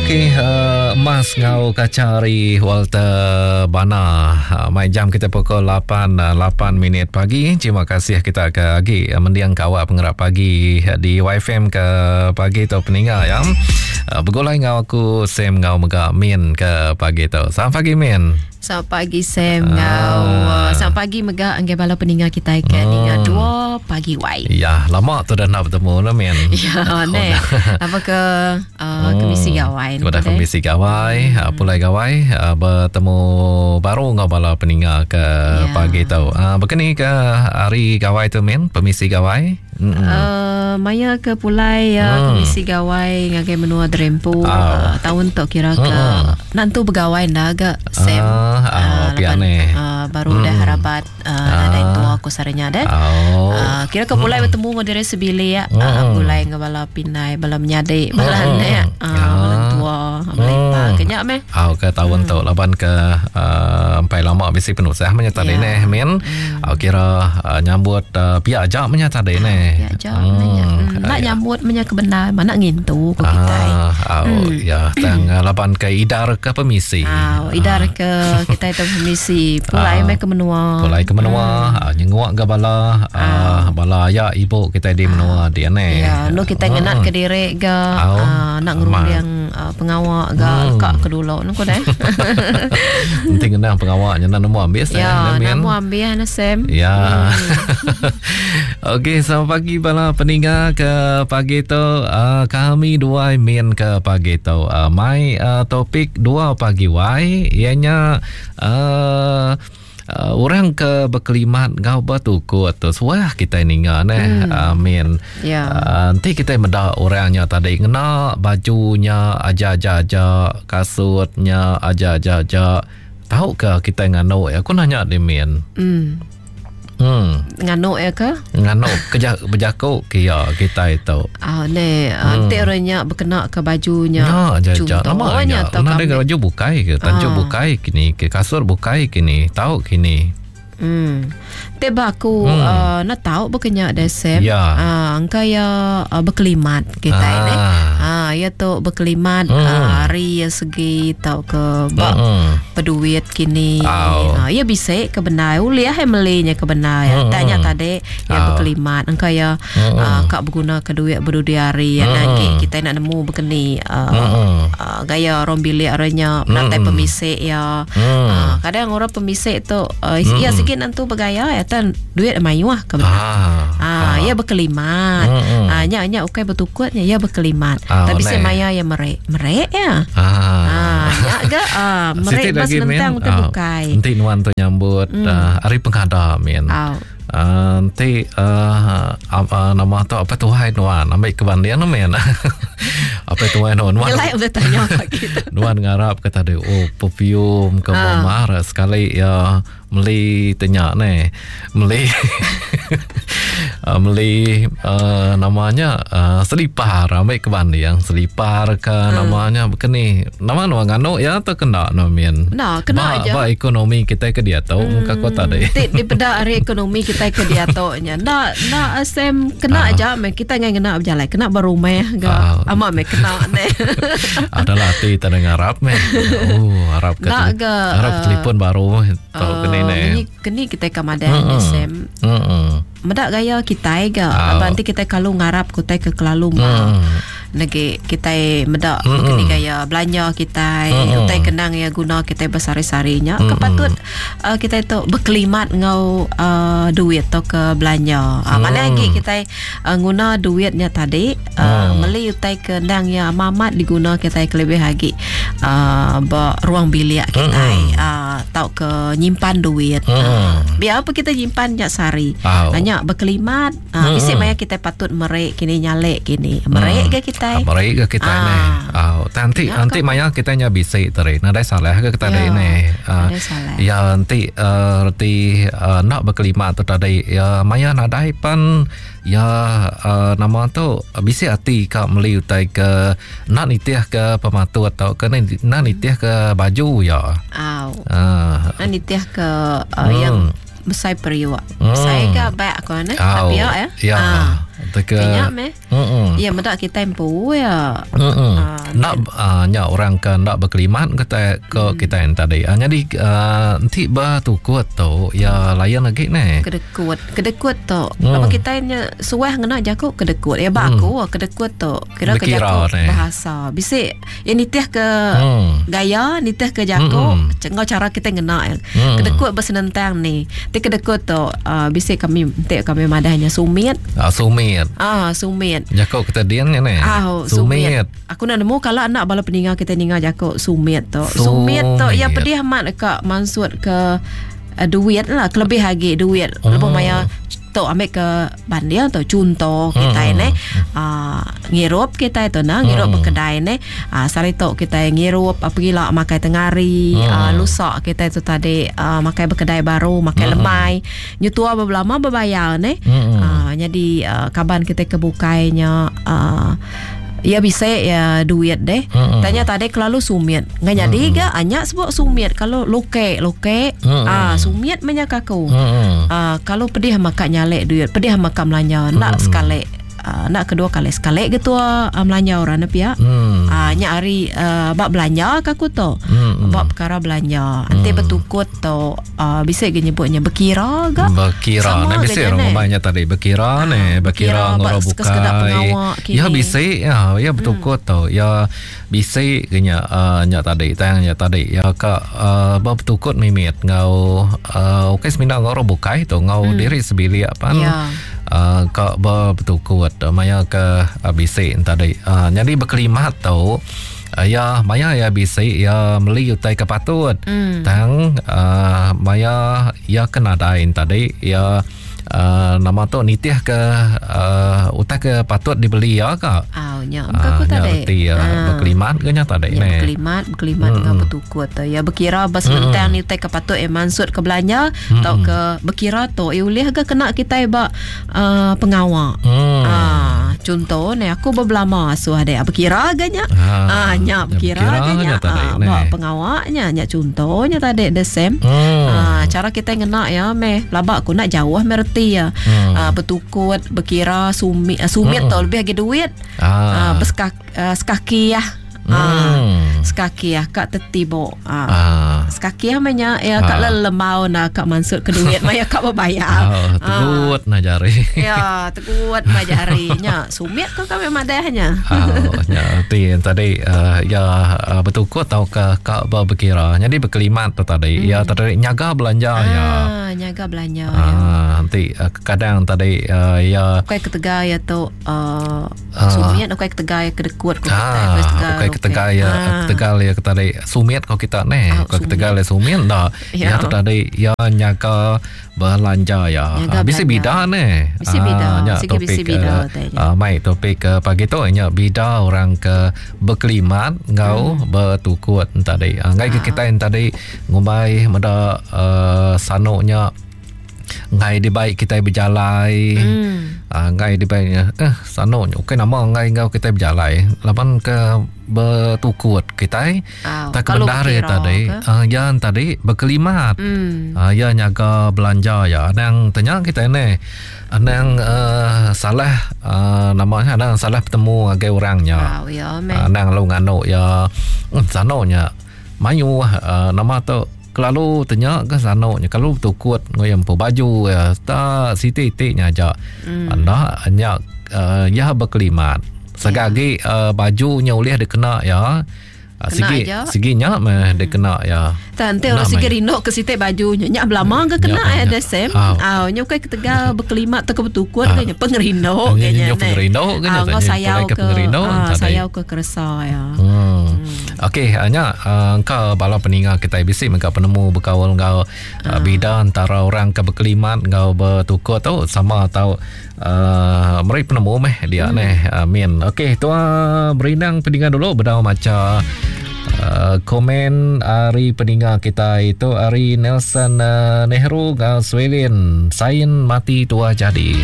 Okey, uh, emas ngau kaca hari Walter Bana. Uh, mai jam kita pukul 8 8 eh, minit pagi. Terima kasih kita ke agi eh, mendiang kawak pengerak pagi di YFM ke pagi tu peninga ya. Uh, begulai ngau aku Sam ngau mega Min ke pagi tu. Selamat pagi Min. Selamat pagi Sam ngau ah. Selamat pagi mega anggai bala peninga kita ke hmm. ninga dua pagi wai. Ya, lama tu dah nak bertemu lah min. Ya, ne. Apa ke uh, kemisi gawai. Udah kemisi gawai, hmm. pulai gawai uh, bertemu baru ngau bala peninga ke ya. pagi tu. Uh, berkeni ke hari gawai tu min, permisi gawai? Uh, maya ke pulai uh, mm. komisi gawai ngagai menua Drempu oh. uh, tahun tu kira ke mm. nantu begawai nda ga Sam uh, uh, uh, uh, baru mm. dah harapat uh, uh. nadai tua aku saranya deh oh. uh, kira ke pulai mm. bertemu dengan diri sebilik mm. uh, pulai dengan bala pinai bala menyadi bala mm. anak uh, bala tua bala mm. ipar kenya meh oh, ke tahun mm. tu laban ke uh, empai lama bisi penusah menya tadi yeah. neh min mm. uh, kira uh, nyambut uh, pia aja menya tadi neh pia aja mm. menya mm. nak nyambut menya ke benar mana ngintu ko kitai ah, oh, mm. ya tang uh, laban ke idar ke pemisi ah idar ah. ke kitai tu pemisi pulai ah. meh ke menua pulai ke menua mm. uh, nyenguk ke bala uh, bala aya ibu kitai di menua dia neh ya nu kitai ngenat ke diri ga uh, nak ngerunding uh, pengawa ga hmm. ka ke dulu nu ko deh. Enti ngenang pengawa nya nemu ambis ya, eh, nemu ambis na Sam. Ya. Hmm. Okey, selamat pagi bala peninga ke pagi tu. Uh, kami dua min ke pagi tu. Uh, mai uh, topik dua pagi wai ianya uh, Uh, orang ke bekelimat enggau betukut tu suah kitai ninga neh hmm. Amin. Yeah. Uh, enti kitai meda orang nya tadi ngena baju nya aja-aja aja, kasut nya aja-aja aja. Tau ke kitai nganu ya? Aku nanya di Min. Hmm. Hmm. Nganu ya ke? Nganu keja bejaku ke ya kitai tu. Ah ne, hmm. enti orang nya bekena ke baju nya. Ya, aja aja. Nama nya. Kena ada baju bukai ke, tanju ah. bukai kini, ke kasur bukai kini, tau kini. Hmm. Ti ba aku hmm. uh, na tau bekenya deh Sam. Ya. Uh, engka ya uh, bekelimat kitai ah. neh. Ah ya tu bekelimat hmm. uh, ari ya segi tau ke ba hmm. peduit kini. Oh. Uh, ya bisi ke bendar ulih eh meli nya ke bendar. Hmm. Tanya tadi ya hmm. bekelimat engka ya hmm. uh, ka beguna ke duit berdudi hari ya hmm. nagi kitai nak nemu bekeni uh, hmm. uh, gaya orang bilik orangnya penatai hmm. pemisik ya. Hmm. Uh, kadang orang pemisik tu uh, hmm. ya sikit nentu bergaya ya tan duit mayuh ke ah. Ah, ah. ya berkelimat. Hmm. Ah, nya nya ukai bertukutnya ya berkelimat. Ah, Tapi nai. semaya ya merek. Merek ya. Ah. Ah, nya ga ah, merek Siti bas lagi min. nentang utai Ah, bukai. Enti nuan tu nyambut mm. uh, hari penghada min. Au. Uh, enti uh, uh, nama tu apa tuai nuan ambil ke banding nu min. apa tuai nuan nuan Nyelai udah tanya pagi tu. nuan ngarap ke tadi oh perfume ke Ah. mar sekali ya meli tenya ne meli uh, meli uh, namanya uh, selipar ambil ke banding selipar ke hmm. namanya bekeni nama nuan nganu ya atau kena no min Nah, kena ba, aja. ba ekonomi kita ke dia tau hmm. muka kota deh Ti dipeda ari ekonomi kita ke diatu nya. Nda nda Sam kena aja meh kita ngai ngena berjalai kena berumah ga. Ah. Amat meh kena ne. Adalah hati tak ada ngarap meh. Oh, harap ke Nak ke, harap uh, telefon baru tau kena ne. Ni keni kita ke madah mm Sam. Hmm. Medak gaya kita ga. Ah. Laban nanti kita kalau ngarap kutai ke kelalu ma. Negi kita medak Mm-mm. keni gaya belanja kita, Mm-mm. utai kenang ya guna kita bersari-sarinya. Kepatut uh, kita itu berkelimat ngau uh, duit atau ke belanja. Uh, Mana lagi kita uh, guna duitnya tadi uh, meli utai kenang ya amat diguna kita kelebih lagi uh, ba ruang bilik kita uh, tau ke nyimpan duit. Uh, biar apa kita nyimpan nya sehari. Au. Nanya berkelimat uh, isi maya kita patut merek kini nyalek kini. Merek ke kita? Merek ke kita Ah. ni. Oh, nanti Ya, nanti maya kita nya bisik tadi. Nadai salah ke kita Ya, ni. Ah, nadai salah. Ya nanti uh, reti uh, nak berkelimat tu tadi. Ya maya nadai pan ya uh, nama tu bisik hati ka meli utai ke nak nitih ke pematut atau ke ni- nak nitih ke baju ya. Au. Ah, Nah, nitih ke uh, yang besar periuk. Hmm. Saya ke baik aku ne. Au. Tapi ya ya. Ya. Ah. Teka Nya meh. Mm. Ya meda kitai empu ya. Mm. Nak nya orang ke ndak berkelimat kita ke kita yang tadi. Jadi enti bertukut tu ya lain lagi ne. Kedekut. Kedekut tu. Mm. Apa kitai nya suah ngena jaku kedekut. Ya ba aku kedekut tu kira ke jaku bahasa. Bisi ya nitih ke gaya, nitih ke jaku enggau cara kitai ngena. Kedekut besenentang ni. Ti kedekut tu bisi kami enti kami madah nya sumit. Ah sumit. Ah sumit. Jaku kita din nya neh. Ah sumit. Aku enda nemu kala enda bala peninga kitai ninga jaku sumit tu. Sumit tu iya pedih amat deka mansut ke duit lah kelebih agi duit lebuh maya tu ambil ke banding tu chunto kitai neh uhh ngirup kitai tu nah ngirup bekedai neh uhh sehari tu kitai ngirup pegila makai tengah hari uhh lusa kitai tu tadi uhh makai bekedai baru makai lemai nyetua belama bebayar neh uhh nyadi uhh kaban kitai ke bukai nya uhh Iya bisi iya duit deh. Mm-mm. Tanya tadi kelalu sumit. Ngai nyadi mm-mm. ga anya sebut sumit kalau luke luke mm-mm. ah sumit menya ka aku. Mm-mm. Ah kalau pedih maka nyalek duit, pedih maka melanja nda sekali. Uh, nda kedua kali sekali ke tua uh, melanja orang ne pia. Mm. Ah nya hari uh, ba belanja ka aku tu. Mm. Ba perkara belanja. Enti mm. betukut tu uh, bisi ga nyebutnya bekira ga. Bekira. Nah bisi orang ngumbai nya tadi bekira uh, ne, bekira ngoro bukai. Ya bisi ya, ya betukut hmm. tu. Ya bisi ke nya uh, nya tadi tang nya tadi. Ya ka uh, betukut mimit ngau uh, okey semina ngoro bukai tu ngau hmm. diri sebilik pan. Ya. Uh, ka betukut maya ke uh, bisi tadi. Uh, jadi bekelimat tu Iya maya iya bisi iya meli utai ke patut. Mm. Tang uh, maya iya ke nadai tadi iya uh, nama tu nitih ke uh, utai ke patut dibeli iya ka. Au nya uh, aku tadi. Reti uh, uh. berkelimat ke nya tadi ya, ne. Berkelimat, berkelimat mm. dengan bertukut tu. Ya berkira ba senentang mm. ni utai ke patut iya mansut ke belanja mm. tau ke berkira tu iya ulih ga kena kitai ba uh, pengawa. Hmm. Uh, contoh ni aku bebelama asuh dek berkira ga nya. Ha uh, nya berkira ga nya. Uh, ba pengawa nya nya contohnya tadi the same. Hmm. Uh, cara kita ngena ya meh pelaba aku nak jauh meh reti ya. Hmm. Uh, bertukut berkira sumit uh, sumit hmm. tu lebih agi duit. Ah. Uh, bersekak uh, sekaki ya. Hmm. Ah, sekaki ah kak tetibo. Ah. ah. Sekaki ah menya ya kak ah. lelemau na kak mansut ke duit maya kak berbayar. Oh, tegut ah. na jari. ya, tegut na jari nya. Sumit ko kami madahnya. Oh, nya ti tadi uh, ya uh, betukut tau ke kak berkira. Jadi berkelimat tu tadi. Hmm. Ya tadi nyaga belanja ah, ya. Nyaga belanja ah, ya. Nanti uh, kadang tadi uh, ya bukan ketegal ya tu uh, Sumit ukai ketegal ya kedekut ko kita. Ukai ketegal, ukai ketegal ya ah. ketegal ya tadi sumit ko kita ne. Ukai ketegal ya sumit dah. Ya tu tadi ya nyaga belanja ya. Nyaga bisi bida ne. Bisi bida. Nya Sigi topik bisi bida uh, mai topik ke pagi tu nya bida orang ke berkelimat enggau hmm. bertukut tadi. Ngai ke kita yang tadi ngumbai meda uh, sanuknya Enggai dibai kitai bejalai. Hmm. Uh, enggai dibai eh sanu okey nama enggai enggau kitai bejalai laban ke bertukut kitai. Oh, tak bendar ya tadi. Uh, ya tadi berkelimat. Hmm. Uh, ya nyaga belanja ya. Anang tanya kitai ne. Anang uh, salah uh, namanya anang salah bertemu ngagai orangnya. Oh, ya, uh, anang lalu nganu ya. Hmm, sanu nya mayuh uh, nama tu Kelalu tenya ke sanu nya kelalu betukut enggau iya empu baju iya tak siti iti nya aja. Mm. Enda nya uh, iya bekelimat. Sega yeah. agi uh, baju nya ulih dikena iya. Uh, sigi aja. sigi nya meh hmm. dikena iya. Tak enti orang sigi rindu ke siti baju nya nya belama ke kena ya the same. Au nya ukai ketegal bekelimat tauka betukut ke nya pengerindu ke nya. Pengerindu ke nya. Ngau sayau ke pengerindu sayau ke keresa ya. Hmm. Okey, nya engka bala peninga kitai bisi mega penemu bekaul enggau uh. bida antara orang ke bekelimat enggau betukut tu sama tau uh, meri penemu meh dia hmm. neh. Amin. Okey, tua berindang peninga dulu bedau macha uh, komen ari peninga kitai tu ari Nelson uh, Nehru enggau Swelin. Sain mati tua jadi.